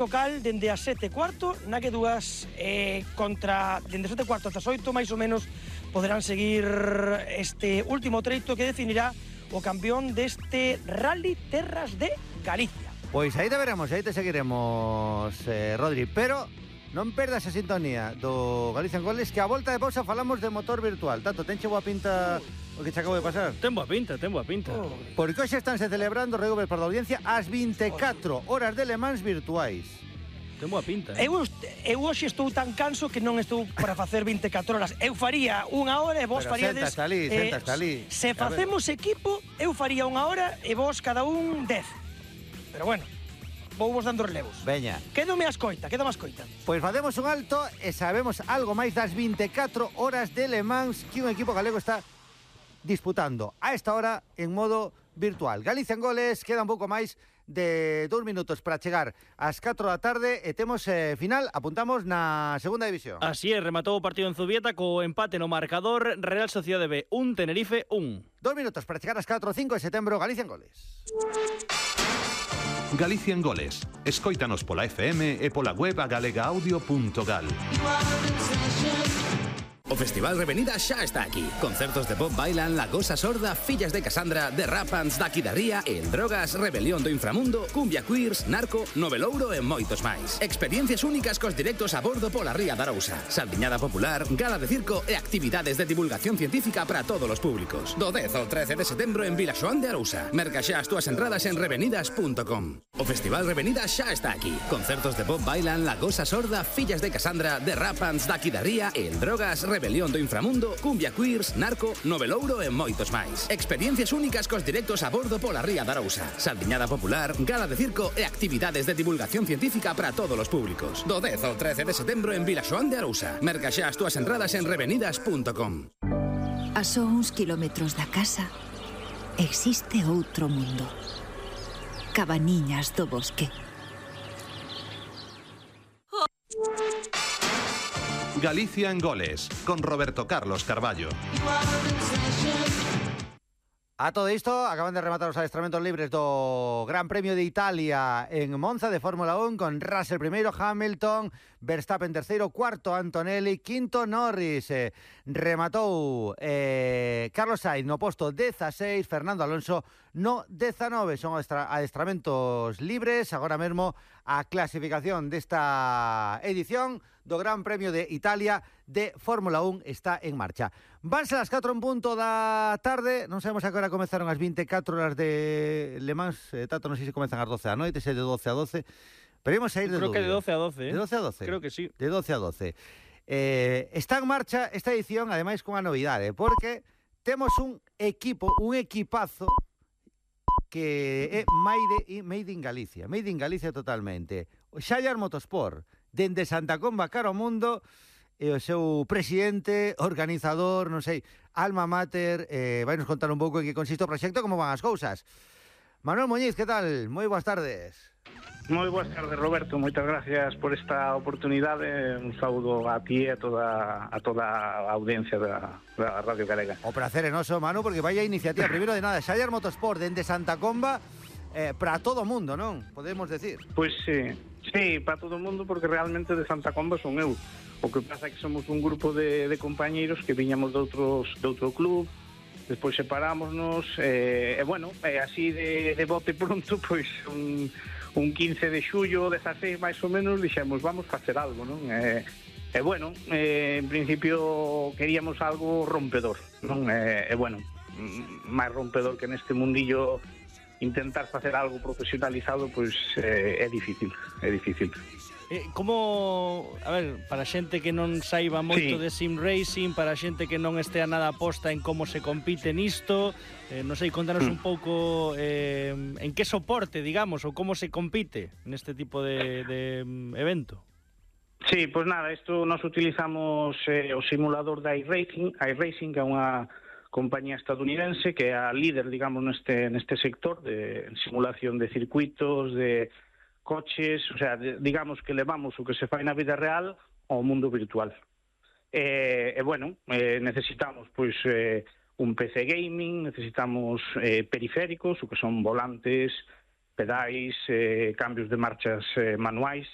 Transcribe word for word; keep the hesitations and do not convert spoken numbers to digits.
local dende as sete e cuarto, na que dúas eh, contra dende as sete e cuarto ata as oito, máis ou menos, poderán seguir este último treito que definirá o campeón deste Rally Terras de Galicia. Pois aí te veremos, aí te seguiremos, eh, Rodri, pero non perdas a sintonía do Galicia en Goles, que a volta de pausa falamos de motor virtual. Tanto, tenche boa pinta o que te acabo de pasar? Ten boa pinta, ten boa pinta. Oh. Porque hoxe estánse celebrando, Regober, para a audiencia, as vinte e catro horas de Le Mans virtuais. Ten boa pinta. Eh? Eu, eu hoxe estou tan canso que non estou para facer vinte e catro horas. Eu faría unha hora e vos Pero faríades... sentas ali, sentas ali. Se facemos equipo, eu faría unha hora e vos cada un dez. Pero bueno, vou vos dando relevos. Veña. Quédome a escoita, quédame a escoita. Pois facemos un alto e sabemos algo máis das vinte e catro horas de Le Mans que un equipo galego está disputando a esta hora en modo virtual. Galicia en Goles, queda un pouco máis de dous minutos para chegar ás catro da tarde e temos eh, final, apuntamos na segunda división. Así é, rematou o partido en Zubieta co empate no marcador, Real Sociedade B un, Tenerife un. Dos minutos para chegar ás catro e cinco de setembro, Galicia en Goles. Galicia en Goles. Escóitanos pola F M e pola web a galega audio punto gal. O Festival Revenida xa está aquí. Concertos de pop bailan La Gosa Sorda, Fillas de Casandra, The Rapans, Daqui da Ría, El Drogas, Rebelión do Inframundo, Cumbia Queers, Narco, Novelouro e moitos máis. Experiencias únicas cos directos a bordo pola Ría da Arousa. Saldiñada popular, gala de circo e actividades de divulgación científica para todos os públicos. Do dez ao trece de setembro en Vilaxoán de Arousa. Merca xa as túas entradas en revenidas punto com. O Festival Revenida xa está aquí. Concertos de pop bailan La Gosa Sorda, Fillas de Casandra, The Rapans, Daqui da Ría, El Drogas, Rebelión do Inframundo, Cumbia Queers, Narco, Novelouro e moitos máis. Experiencias únicas cos directos a bordo pola Ría da Arousa. Saldiñada popular, gala de circo e actividades de divulgación científica para todos os públicos. Do dez ao trece de setembro en Vilaxoán de Arousa. Merca xa as túas entradas en revenidas punto com. A só uns kilómetros da casa existe outro mundo. Cabaniñas do Bosque. Galicia en Goles, con Roberto Carlos Carballo. A todo isto, acaban de rematar os adestramentos libres do Gran Premio de Italia en Monza de Fórmula un con Russell primeiro, Hamilton, Verstappen terceiro, cuarto Antonelli, quinto Norris. Eh, rematou eh, Carlos Sainz no posto dieciséis, Fernando Alonso no diecinueve. Son adestramentos libres. Agora mesmo a clasificación desta edición do Gran Premio de Italia de Fórmula un está en marcha. Vanse as catro en punto da tarde. Non sabemos a que hora comezaron as vinte e catro horas de Le Mans. eh, Tato, non sei se comezan as doce da noite, se de doce a doce. Pero imos a ir de Creo dúbida. que de doce a doce, eh? De doce a doce. Creo que sí. De doce a doce. Eh, está en marcha esta edición, ademais, con a novidade, porque temos un equipo, un equipazo que é made, made in Galicia. Made in Galicia totalmente. O Xallar Motorsport, dende Santa Comba cara ao mundo, e o seu presidente, organizador, non sei, alma mater, eh, vai nos contar un pouco en que consiste o proxecto, como van as cousas. Manuel Muñiz, que tal? Moi boas tardes. Moi boas tardes, Roberto. Moitas gracias por esta oportunidade. Un saúdo a ti e a toda a toda a audiencia da, da Radio Galega. O prazer é noso, Manu, porque vai a iniciativa. Primeiro de nada, Xallar Motorsport, dende Santa Comba, eh, para todo o mundo, non? Podemos decir. Pois sí, sí, para todo o mundo, porque realmente de Santa Comba son eu. O que pasa é que somos un grupo de, de compañeiros que viñamos de outros de outro club, despois separámonos, e, e bueno, e así de, de bote pronto, pois un, un quince de xullo, dezaseis máis ou menos, dixemos, vamos facer algo, non? E, e bueno, e, en principio queríamos algo rompedor, non? E, e bueno, máis rompedor que neste mundillo intentar facer algo profesionalizado, pois eh, é difícil, é difícil. Eh, como, a ver, para xente que non saiba moito Sí. de sim racing, para xente que non estea nada posta en como se compite nisto, eh, non sei, contanos Mm. un pouco eh, en que soporte, digamos, ou como se compite neste tipo de, de mm, evento. Sí, pois nada, isto nos utilizamos eh, o simulador da iRacing, iRacing, que é unha compañía estadounidense que é a líder, digamos, neste neste sector de simulación de circuitos, de coches, o sea, de, digamos que levamos o que se fai na vida real ao mundo virtual. E, e bueno, eh, necesitamos pois eh, un P C gaming, necesitamos eh, periféricos, o que son volantes, pedais, eh, cambios de marchas eh, manuais,